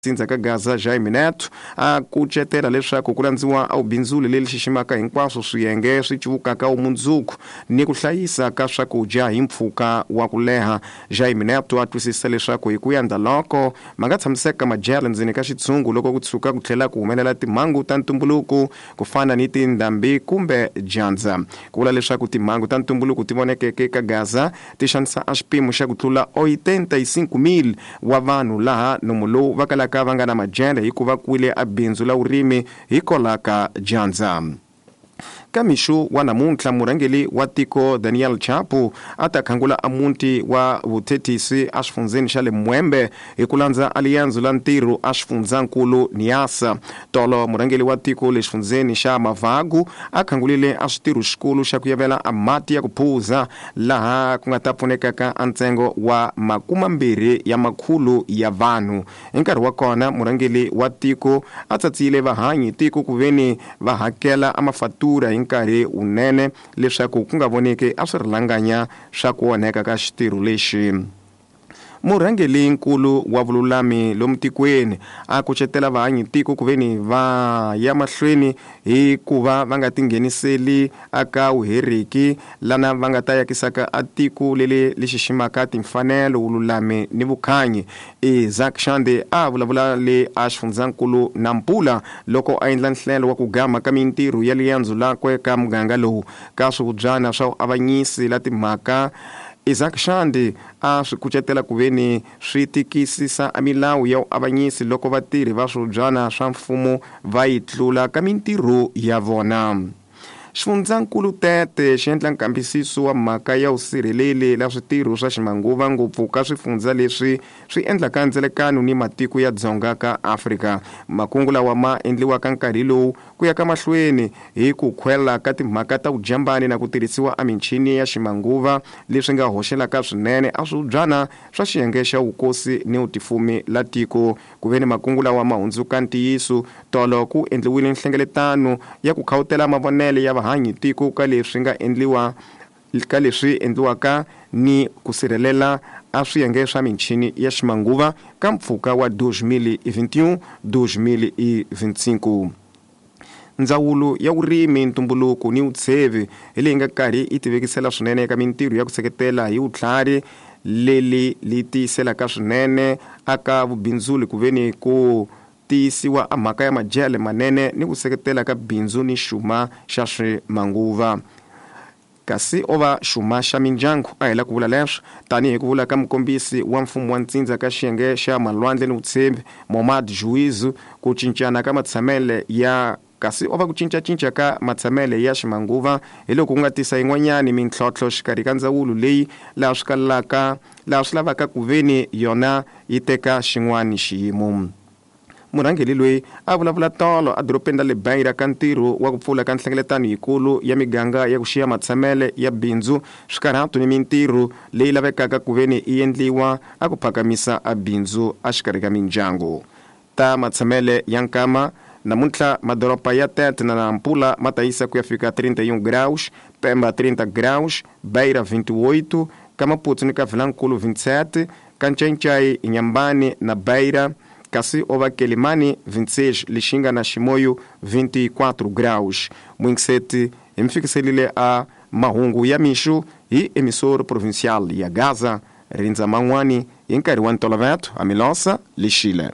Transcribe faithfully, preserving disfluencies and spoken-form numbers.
Tsindza ka Gaza Jaime Neto a kucetela leswaku ku landziwa a vubindzuli leri xiximaka hinkwaswo swiyenge swi cuvukaka vumundzuku ni ku hlayisa ka swakudya hi mpfhuka wa ku leha. Jaime Neto a twisisa leswaku hi ku yandza loko ma nga tshamiseka madyelo ndzeni ka xitshungu loko ku tshuka ku tlhela ku humelela timhangu ta ntumbuluko ku fana ni tindhambi kumbe dyandza. Ku vula leswaku timhangu ta ntumbuluko ti vonekeke ka Gaza ti xanisa a xipimo xa ku tlula oitenta e cinco mil wa vanhu laha nomu lowu va kalaka va nga na madyele hikuva kwile a bindzu la vurimi hikwalaho ka dyandza. Ka mixo wa namuntlha murhangeri wa tiko Daniel Chapo a ta khangula a muti wa vuthetisi a xifundzeni xa le Mwembe hi ku landza aliyanzu la ntirho a xifundzankulu Niassa. Tolo murhangeri wa tiko le xifundzeni xa Mavagu a khangulile a xitirho xikulu xa ku yavela a mati ya ku phuza laha ku nga ta pfunekaka a ntsengo wa makumambirhi ya makhulu ya vanhu. Hi nkarhi wa kona murhangeri wa tiko a tsatsile vahanyi tiko ku veni va hakela a mafatura hi nkarhi wunene leswaku ku nga voneki a swi rilanganya swa ku onheka ka xitirho lexi. Murhangeri nkulu wa vululami lomu tikweni a kucetela vahanyi tiko ku veni va ya mahlweni hi ku va va nga tingheniseli aka vuheriki lana va nga ta yakisaka a tiko leli li xiximaka timfanelo, vululami ni vukhanyi. Isaac Shande a vulavula le a xifundzankulu Nampula loko a endla nhlelo wa ku gama ka mintirho ya liyandzo lakwe ka muganga lowu ka swivubyana swa vuavanyisi la timhaka. Isaac Shande a swi kucetela ku veni swi tikisisa a milawu ya vuavanyisi loko vatirhi va swivubyana swa mfumo va yi tlula ka mintirho ya vona. Xifundzankulu Tete xi endla nkambisiso wa mhaka ya vusirheleli la switirho swa ximanguva ngopfu ka swifundza leswi swi endlaka ndzelekano ni matiko ya dzonga ka Afrika. Makungu lawa ma endliwaka nkarhi lowu ku ya ka mahlweni hi ku khwela ka timhaka ta vujambani na ku tirhisiwa a michini ya ximanguva leswi nga hoxelaka swinene a swivubyana swa xiyenge xa vukosi ni vutifumi la tiko. Ku ve ni makungu lawa ma hundzuka ntiyiso tolo ku endliwile nhlengeletano ya ku khawutela mavonelo ya vahanyi tiko ka leswi nga endliwa ka leswi endliwaka ni ku sirhelela a swiyenge swa michini ya ximanguva ka mpfhuka wa dois mil e vinte e um dois mil e vinte e cinco. Ndzawulo ya vurimi, ntumbuluko ni vutshevi hi leyi nga karhi yi tivekisela swinene eka mintirho ya ku seketela hi vutlhari leli li tiyiselaka swinene aka vubindzuli ku veni ku tiyisiwa a mhaka ya madyele manene ni ku seketela ka bindzu ni xuma xa swimanguva. Kasi o va xuma xa mindyangu a hela ku vula leswo tanihi ku vula ka mukombisi wa mfumo wa ntsindza ka xiyenge xa malwandle ni vutshembi Momad Juizu ku cincana ka matshamele ya kasi o va ku cincacinca ka matshamele ya ximanguva hi loko ku nga tisa yin'wanyani mintlhontlho xikarhi ka ndzawulo leyi laha swi kalaka laha swi lavaka ku veni yona yi teka xin'wani xiyimo. Murhangeri loyi a vulavula tolo a dorobeni ra le Beira ka ntirho wa ku pfula ka nhlengeletano yikulu ya miganga ya ku xiya matshamele ya bindzu swikarhato ni mintirho leyi lavekaka ku veni yi endliwa a ku phakamisa a bindzu a xikarhi ka mindyangu. Ta matshamele ya nkama namuntlha madoroba ya Tete na Nampula ma ta yisa ku ya fika trinta e um graus, Pemba trinta graus, Beira vinte e oito, ka Maputo ni ka Vilankulu vinte e sete, ka Ncencai, Inhambane na Beira kasi o va Quelimane vinte e seis, Lixinga na Chimoio vinte e quatro graus. Muingiseti hi mi fikiselile a mahungu ya mixo hi emissora provincial ya Gaza, rindza man'wani hi nkarhi wa ntoloveto a Milosa Lixile.